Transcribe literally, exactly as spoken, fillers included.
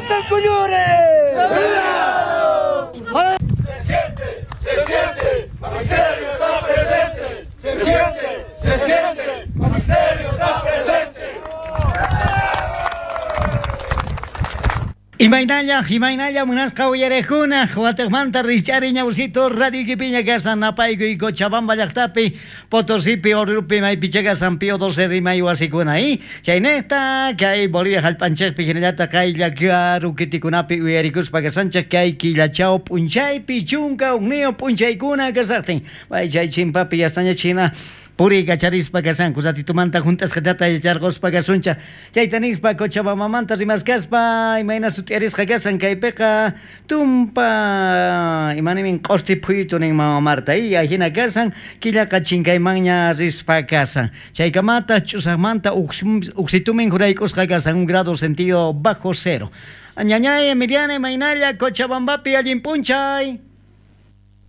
¡Avanza el Collores! Se siente, se siente, Magisterio está presente. Se siente, se siente, Magisterio está presente. Imaynalla, imaynalla munasqa uyariqkuna, Wateqmanta rich'ari ñawsito radio ikipiña kasan napaykuy Cochabamba llaqtapi, Potosipi, Oruropi, maypicha kasan Pío doce rimay wasikuna y chaynejta kay Bolivia jallp'anchikpi hinallataq kay llakaru kitikunapi uyarikuspa kasanchik kay killachaw p'unchaypi chunka hukniyuq p'unchaykuna kasaqtin bay chay chimpapi yastañachina puriy kacharispa kasanku ratitumanta junt'asqatata yacharquspa kasuncha chayta nispa Cochabambamanta rimaskaspa imayna sut'iarisqa kasan kaypiqa tumpa imanimin q'usti phuytu nin mama Marta y ajina kasan killaqa chinkaymanña rispa kasan chaykamata ch'usaqmanta uksitumin jurayk'usqa kasan un grado sentido bajo cero. Ñañay Emiliana imaynalla Cochabambapi allin p'unchay.